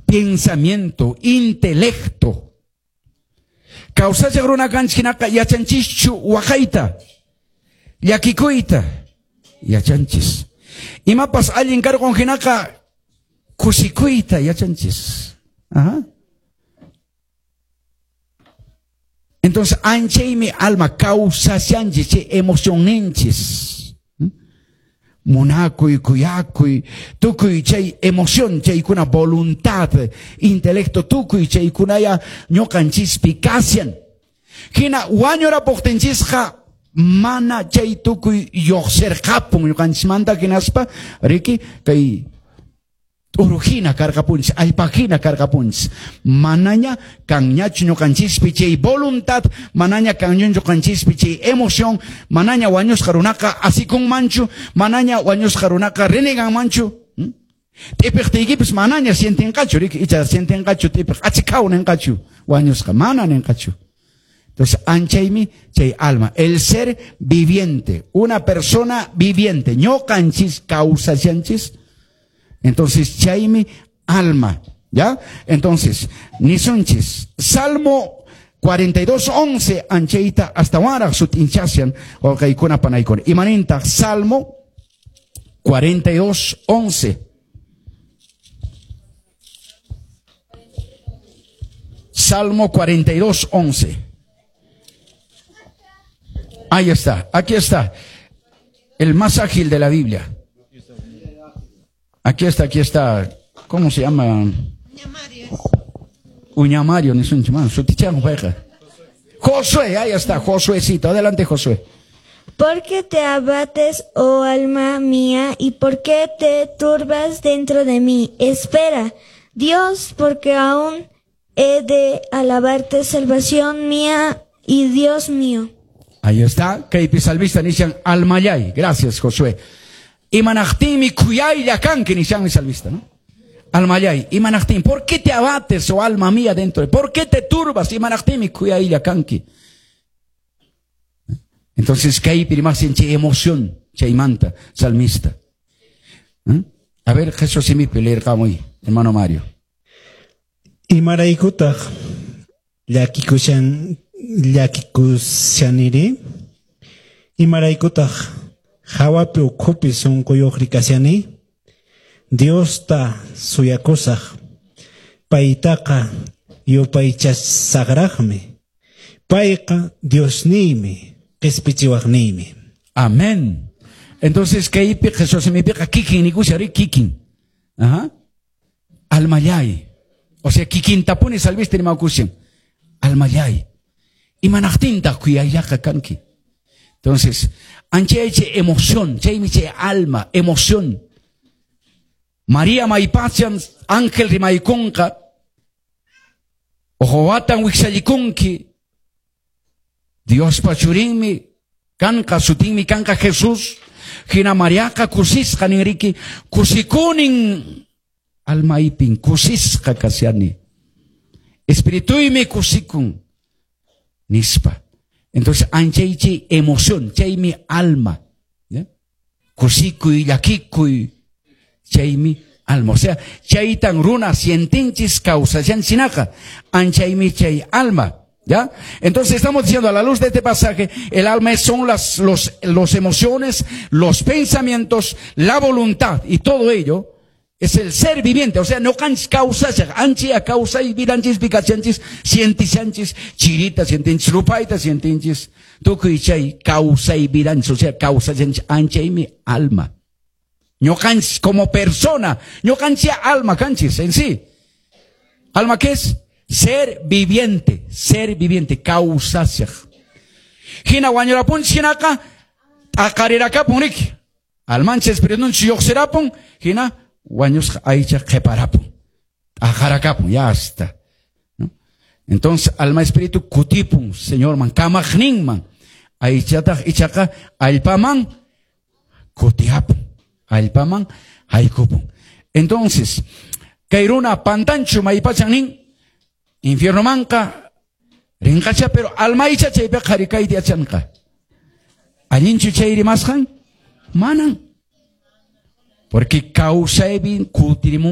Pensamiento, intelecto. Kawsachaq runa kanchik hinaqa yachanchischu waqayta, llakikuyta, yachanchis. Imapas allin karqun hinaqa kusikuyta yachanchis. Ajá. Entonces, anchaymi alma kawsashanchis, chay emocionninchis. Munakuy, kuyakuy, tukuy chay emoción, chaykuna voluntad, intelecto, tukuy chaykunaya ñuqanchispi kashan. Hina wañurapuqtinchisqa mana chay tukuy lluqsirqapun ñuqanchismanta hinaspa, riki, kay t'uruhina karqapunchis, allpahina karqapunchis. Manaña kanñachu ñuqanchispi chay voluntad, manaña kanñu ñuqanchispi chay emoción, manaña wañusqa runaqa asikunmanchu, manaña wañusqa runaqa reneganmanchu. T'ipiqtiykipis manaña sientinqachu, riki, icha sientinqachu t'ipiq, achikaw ninqachu, wañusqa, mana ninqachu. Entonces, anchaymi chay alma, el ser viviente, una persona viviente, ñuqanchis kawsashanchis. Entonces, chaymi alma, ¿ya? Entonces, nisunchis, Salmo 42:11, anchayta hasta waraq sut'inchashan, wawqaykuna panaykuna. Imanintaq Salmo 42:11. Salmo 42:11. Ahí está, aquí está. El más ágil de la Biblia. Aquí está, aquí está. ¿Cómo se llama? Uñamario. Uñamario, ni sun chimán. Sutichán, juega. Josué, ahí está, Josuécito. Adelante, Josué. ¿Por qué te abates, oh alma mía, y por qué te turbas dentro de mí? Espera, Dios, porque aún he de alabarte, salvación mía y Dios mío. Ahí está, kaypi salvista nishan almayay. Gracias, Josué. Imanaqtinmi kuyaylla kanki nishanmi salvista, ¿no? Almayay, imanaqtin, ¿por qué te abates, oh alma mía, dentro de? ¿Por qué te turbas? Imanaqtinmi kuyaylla kanki. Entonces, kaypi rimasin chay emoción, chaymanta, salmista. ¿Eh? A ver, Jesús simipi leerqamuy, hermano Mario. Imaraykutaq llakikushan, llakikushaniri? Imaraykutaq hawapi ukhupi sunquyuqri kashani? Diosta suyakusaq, paytaqa yupaychasaqraqmi. Payqa Diosniymi, qispichiwaqniymi. Amén. Entonces, kaypi Jesús simipiqa kikin nikushari kikin. Ajá. Almayay. O sea, kikintapuni salviste rimakushan. Almayay. Imanaqtintaq kuyayllaqa kanki. Entonces, anchay chay emoción, chaymi chay alma, emoción. María maypachan ángel rimaykunqa, ojowatan wiksallikunki, Diospa churinmi kanqa, sutinmi kanqa Jesús, hina Mariaqa kusisqa ninriki, kusikunin almaypin, kusisqa kashani. Espirituymi kusikun, nispa. Entonces, anchay chay emoción, chaymi alma. ¿Ya? Kusikuy, llakikuy, chaymi alma. O sea, chaytan runa sientinchis kawsashanchinaqa, anchaymi chay alma. ¿Ya? Entonces estamos diciendo a la luz de este pasaje, el alma son los emociones, los pensamientos, la voluntad y todo ello es el ser viviente. O sea, no causa, anchi a causa y vidanchis, picachanchis, sientichanchis, chirita, sientinchis, rupaita, sientinchis, tukuy chay, causa y vidanchis, o sea, causa, ancha y mi alma. Ñocanchis como persona, ñocanchia alma, canchis en sí. ¿Alma qué es? Ser viviente, causa. Hina wañurapun shinaka, aqarirakapun riki. Almancha espiritunchis lluqsirapun, hina wañusqa aycha qhiparapun. Aqarakapun, ya está. ¿No? Entonces, alma espíritu kutipun, Señor man, kamaqninman. Aychataq ichaqa allpaman kutiapun. Allpaman haykupun. Entonces, kay runa pantanchu maypachan nin, infierno manqa rinqacha, pero alma icha chaypiqa qharikayta yachanqa. Allinchu chay rimasqan? Manan. Porque kawsaypi kutirimun